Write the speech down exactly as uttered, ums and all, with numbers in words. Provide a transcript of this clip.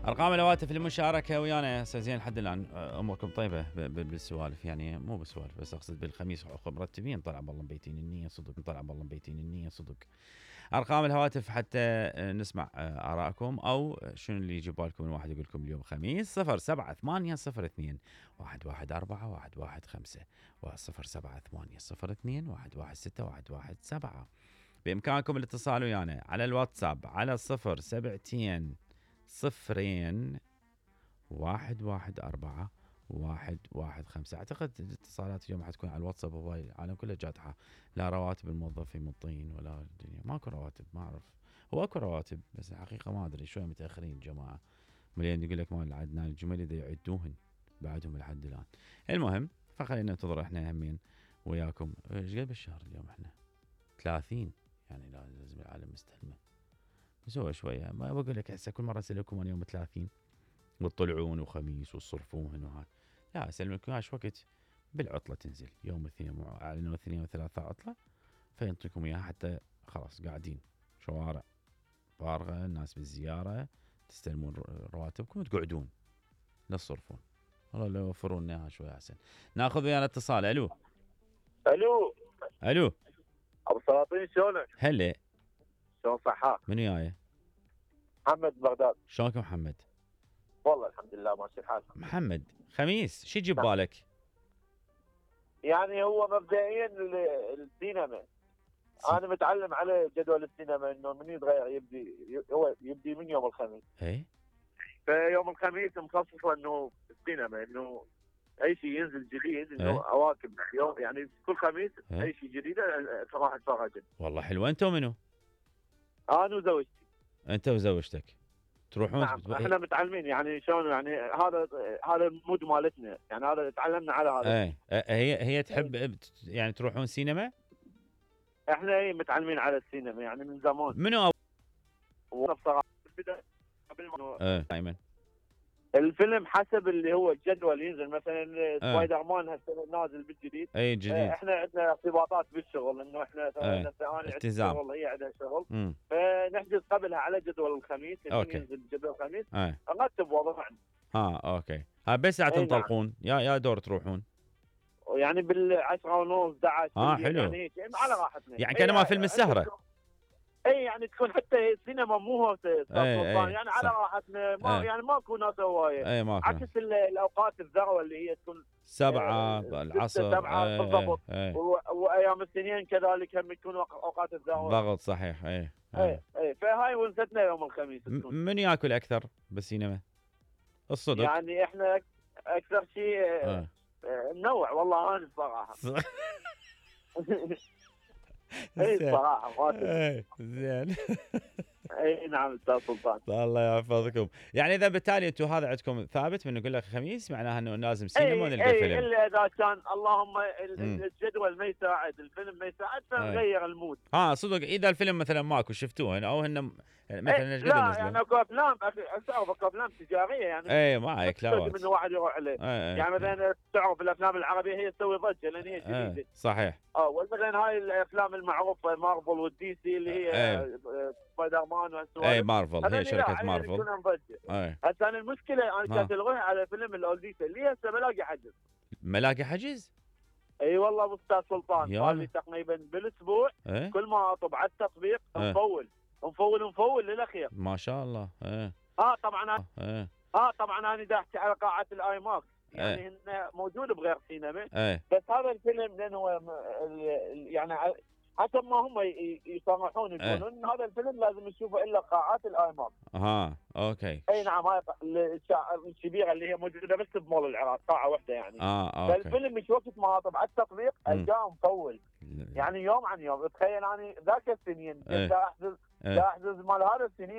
ارقام الهواتف للمشاركه ويانا هسه زين لحد الان اموركم طيبه بالسوالف، يعني مو بالسوالف بس اقصد بالخميس مرتبين. طلع بالله مبيتين النيه صدق، طلع بالله مبيتين النيه صدق. ارقام الهواتف حتى نسمع ارائكم او شنو اللي يجي بالكم من واحد يقول لكم اليوم خميس. صفر سبعة ثمانية صفر اثنين واحد واحد أربعة واحد واحد خمسة وصفر سبعة ثمانية صفر اثنين واحد واحد ستة واحد واحد سبعة. بامكانكم الاتصال ويانا على الواتساب على صفر سبعتين صفرين واحد واحد أربعة واحد واحد خمسة. أعتقد الاتصالات اليوم حتكون على الواتساب، هو العالم كله جاتحة، لا رواتب الموظفين مطين ولا الدنيا، ماكو رواتب. ما أعرف، هو أكو رواتب بس الحقيقة ما أدري شوية متأخرين الجماعة. مليان يقول لك مال عدنان الجمل إذا يعدوهن بعدهم لحد الآن. المهم فخلينا ننتظر إحنا همين وياكم. إيش قد بالشهر اليوم إحنا ثلاثين، يعني لازم العالم مستلمه نسوي شوية. ما بقول لك هسه كل مرة أسألكم عن يوم ثلاثين وتطلعون وخميس وتصرفون وهذا، لا أسألكم ايش وقت بالعطلة تنزل يوم الاثنين، أعلنوا الاثنين وثلاثة عطلة فينطيكم إياها حتى خلاص قاعدين شوارع فارغة، الناس بالزيارة، تستلمون رواتبكم وتقعدون لا تصرفون. والله لو يوفرون لنا اياها شوية أحسن. ناخذ ويانا اتصال. ألو الو ألو ابو سلاطين شلونك؟ هلا شلون صحة؟ من وياي؟ محمد بغداد. شلونك محمد؟ والله الحمد لله ماشي الحال. محمد خميس شو يجيب بالك؟ يعني هو مبدئيا السينما، انا متعلم على جدول السينما انه من يتغير يبدي هو يبدي من يوم الخميس. اي فيوم الخميس مخصص انه السينما، انه اي شيء ينزل جديد، انه ايه؟ اواكب يوم يعني كل خميس ايه؟ اي شيء جديد راح اتفرج. والله حلوه. انت ومنو؟ انا وزوجتي. انت وزوجتك تروحون؟ نعم بتبقى... احنا متعلمين يعني شلون، يعني هذا هذا المود مالتنا، يعني هذا تعلمنا على هذا. ايه هي هي تحب يعني تروحون سينما؟ احنا ايه متعلمين على السينما يعني من زمان. منو؟ بصراحه قبل ما ايه دائما الفيلم حسب اللي هو الجدول ينزل، مثلا ايه. سبايدر مان هسه نازل بالجديد. اي جديد. اه احنا عندنا ارتباطات بالشغل، انه احنا ايه. التزام، والله هي عندها شغل. مم. فنحجز قبلها على جدول الخميس اللي ينزل جدول الخميس. ايه. نرتب وضعنا. ها اوكي. ها بس ساعه تنطلقون يا يا دور تروحون؟ يعني بالعشرة ونص احد عشر. اه حلو. يعني على راحتنا، يعني كان ما فيلم السهره. اي يعني تكون حتى السينما مو هو اي يعني على راحتنا، ما اي. يعني ماكو ناس هوايه. اي ماكو. عكس الاوقات الذروه اللي هي تكون سبعة العصر. سبعة بالضبط. وايام السنين كذلك هم يكونوا اوقات الذروه. ضغط صحيح. اي اي اي فهاي ونستنا يوم الخميس. من ياكل اكثر بالسينما؟ الصدق يعني احنا اكثر شيء اه. نوع والله انا الصراحه. اي صراحه اي زين. اي نعم استاذ سلطان. الله يحفظكم. يعني اذا بالتالي انتم هذا عندكم ثابت من نقول لك خميس معناها انه لازم سينما ونلقى أي فيلم. الا اذا كان اللهم الجدول ما يساعد، الفيلم ما يساعد فنغير المود. اه صدق اذا الفيلم مثلا ماكو شفتوه او هن مثلا ايش قد لا نزلوا؟ يعني اكو افلام اكو افلام تجاريه يعني اي معك لا من واحد يروح عليه. يعني مثلا تعرف الافلام العربيه هي تسوي ضجه لان هي جديده. ايه صحيح. اه ومثلا هاي الافلام المعروفه مارفل والدي سي اللي هي ايه. سبايدر مان وهالسوالف. اي مارفل هي شركه مارفل. ايه. هسه انا المشكله انا كانت الغي على فيلم الاولديسا اللي هسه ملاقي حجز. ملاقي حجز؟ اي والله استاذ سلطان قال لي تقريبا بالاسبوع. ايه؟ كل ما اطب على التطبيق ايه؟ نفول نفول نفول للاخير. ما شاء الله. ايه اه طبعا ايه اه طبعا انا داحت على قاعه الاي ماكس يعني ايه؟ هن موجود بغير سينما. ايه؟ بس هذا الفيلم لانه هو يعني حسب ما هم يصرحون يقولون ان هذا الفيلم لازم نشوفه الا قاعات الاي ماكس. اها اوكي. اي نعم هاي الكبيره اللي هي موجوده بس بمول العراق قاعه واحده يعني. اه اوكي. فالفيلم مش وقت ما اطب على التطبيق القاه مطول يعني يوم عن يوم. تخيل انا ذاك السنين ايه؟ دا احجز دا احجز مال هذا السنين